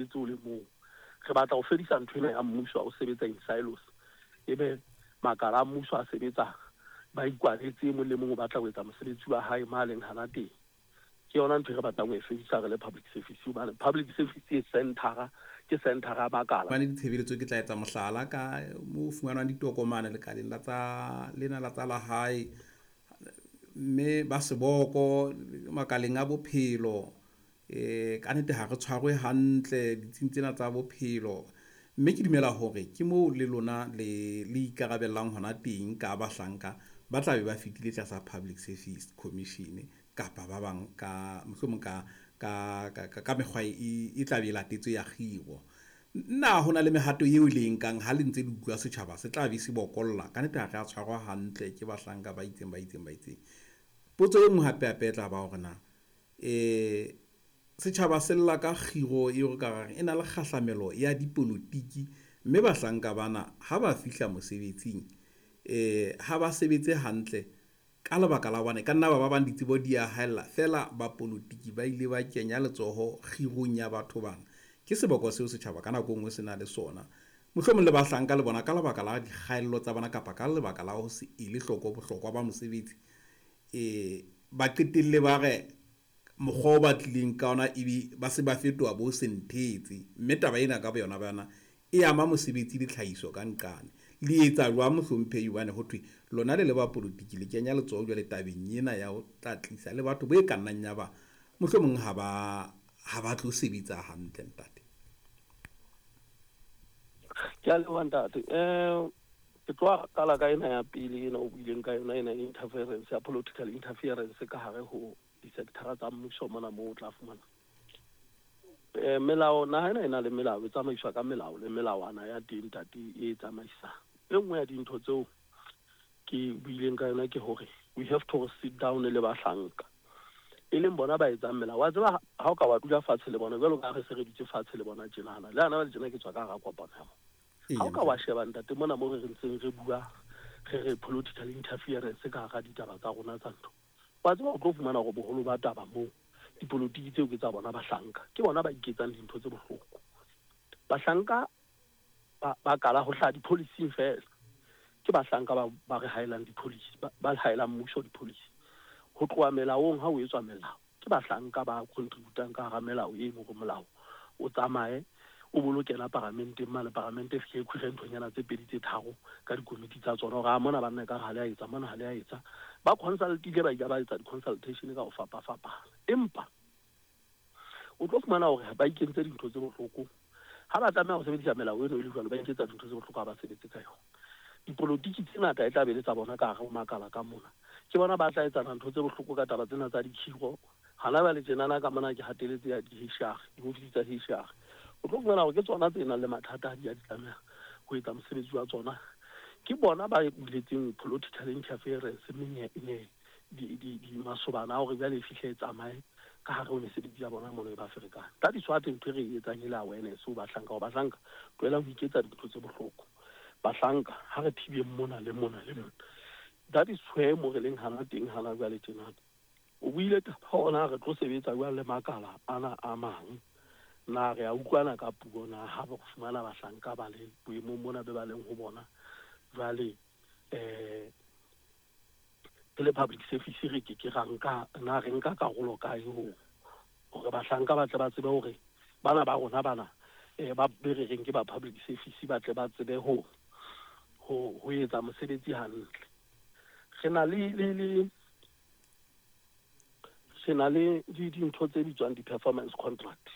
Sebetse o le mong. Re batla ho fedisa ntho ena ya mmuso ha o sebetsa in silos, ebe makala a mmuso a sebetsa ba ikwaletse, e mong le mong o batla ho etsa mosebetsi wa hae mo a leng hana teng. Ke yona ntho e re batlang ho e fedisa re le public service, hobane public service e centre-ra, ke centre-ra ya makala. Hobane ditshebeletso ke tla etsa mohlala ka mo fumanwang ditokomane lekaleng la tsa lena la tsa lehae, mme ba seboko makaleng a bophelo. Ka nnete ha re tshwarwe hantle ditsing tsena tsa bophelo. Mme ke dumela hore ke moo le lona le le ikarabellang hona teng ka bahlanka ba tla be ba fetile tlasa Public Service Commission kapa ba bang ka mohlomong ka ka ka ka mekgwa e, e tla be e latetswe ya kgiro. Na ho na le mehato eo le e nkang ha le ntse le utlwa setjhaba se tla be se bokolla? Ka nnete ha re a tshwarwa hantle ke bahlanka ba itseng ba itseng ba itseng. Potso e nngwe hape hape e tla ba hore na Setjhaba se lla ka kgiro eo re ka reng e na le kgahlamelo ya dipolotiki, mme bahlanka bana ha ba fihla mosebetsing ha ba sebetse hantle ka lebaka la hobane ka nna ba ba bang ditsebo di a haella feela bapolotiki ba ile ba kenya letsoho kgirong ya batho bana. Ke seboko seo setjhaba ka nako e nngwe se na le sona. Mohlomong le bahlanka le bona ka lebaka la dikgaello tsa bona kapa ka lebaka la ho se ele hloko bohlokwa ba mosebetsi ba qetelle ba re mokgwa o ba tlileng ka ona ebe ba se ba fetoha bo senthetse, mme taba ena ka boyona ba yona e ama mosebetsi le tlhahiso ka nqane. Le etsa jwang mohlomphehi hobane ho thwe lona le le bapolotiki le kenya letsoho jwale tabeng ena ya ho tla tlisa le batho bo e ka nnang ya ba mohlomong ha ba ha ba tlo sebetsa hantle ntate. Ke a leboha ntate. Ke tlo qala ka ena ya pele ena o buileng ka yona ena interference ya political interference ka hare ho di-sector tsa mmuso mona moo o tla fumana melao naha ena e na le melao e tsamaiswa ka melao le melawana ya teng ntate e tsamaisang. E nngwe ya dintho tseo ke buileng ka yona ke hore we have to sit down le bahlanka e leng bona ba etsang melao. Wa tseba ha o ka wa dula fatshe le bona jwalo ka ha re se re dutse fatshe le bona tjenana le hana jwale tjena ke tswa ka hara kopano ya bona. Ha o ka wa sheba ntate mona mo re re ntseng re bua re re political interference ka hara ditaba tsa rona tsa ntho, wa tseba o tlo fumana hore boholo ba taba moo dipolotiki tseo ke tsa bona bahlanka. Ke bona ba iketsang dintho tse bohloko. Bahlanka ba, ba kala ho hlaha di-policy-ing feela. Ke bahlanka ba, ba re haelang di-policy, ba, ba haelang mmuso di-policy. Ho tloha melaong ha ho etswa melao, ke bahlanka ba contributang ka hara melao eno hore molao o tsamaye o bolo kena paramenteng mane, paramente e fihle e khwire nthonyana tse pedi tse tharo ka dikomiti tsa tsona hore a mona banna ekare ha le a etsa mona ha le a etsa. Ba consultile ba ile ba etsa di-consultation ka ho fapafapana, empa o tlo fumana hore ba ikentse dintho tse bohloko ha ba tlameha ho sebedisa melao eno e le jwalo, ba iketsa dintho tse bohloko ha ba sebetse ka yona. Dipolotiki tse ngata e tla be le tsa bona ka hare ho makala ka mona, ke bona ba tla etsana ntho tse bohloko ka taba tsena tsa dikhiro. Hana jwale tjenana ka mona ke hateletse ya di-HR, diofisi tsa HR. O tlo fumana hore ke tsona tse nang le mathata ha di ya di tlameha ho etsa mosebetsi wa tsona. Ke bona ba buletseng political interference masobana a hore jwale e fihle e tsamaye ka hare ho mesebetsi ya bona mono e ba ferekane. Ka diswate ntho e re e etsang e le awareness ho bahlanka hore bahlanka tlohelang ho iketsa dintho tse bohloko. Bahlanka ha re thibeng mona le mona le mona. That is where mo re leng hana teng hana jwale tjenana. O buile taba hore na re tlo sebetsa jwang le makala ana a mang. Na re a utlwana ka puo na ha re fumana bahlanka ba le boemong bona be ba leng ho bona jwale re le public service re ke ke ra nka na re nka karolo kae ho hore bahlanka ba tle ba tsebe hore bana ba rona bana ba be re reng ke ba public service ba tle ba tsebe ho ho ho etsa mosebetsi hantle. Re na le le le re na le dintho tse bitswang di-performance contract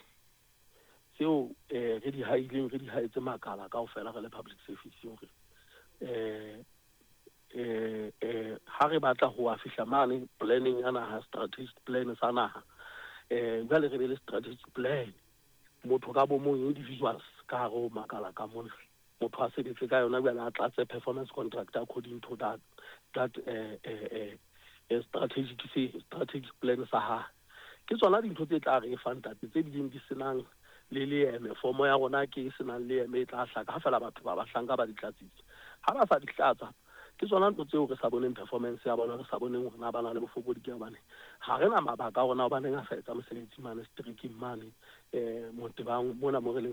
tseo re di haileng re di haetse makala kaofela re le public service hore ha re batla ho wa fihla mane planning ya naha, strategic plan sa naha, jwale re be le strategic plan motho ka bo mong individuals ka hare ho makala ka mona motho a sebetse ka yona jwale a tlatse performance contract according to that that strategic se strategic plan sa hae. Ke tsona dintho tse tla re fang ntate tse bileng di senang le leeme. Fomo ya rona ke e senang leeme e tla hlaka ha fela batho ba bahlanka ba di tlatsitse. Ha ba sa di tlatsa Ke tsona ntho tseo re sa boneng performance ya bona, re sa boneng hore na ba na le bofokodi ke hobane ha re na mabaka a rona hobaneng a sa etsa mosebetsi mane seterekeng mane, Motebang mona mo re leng.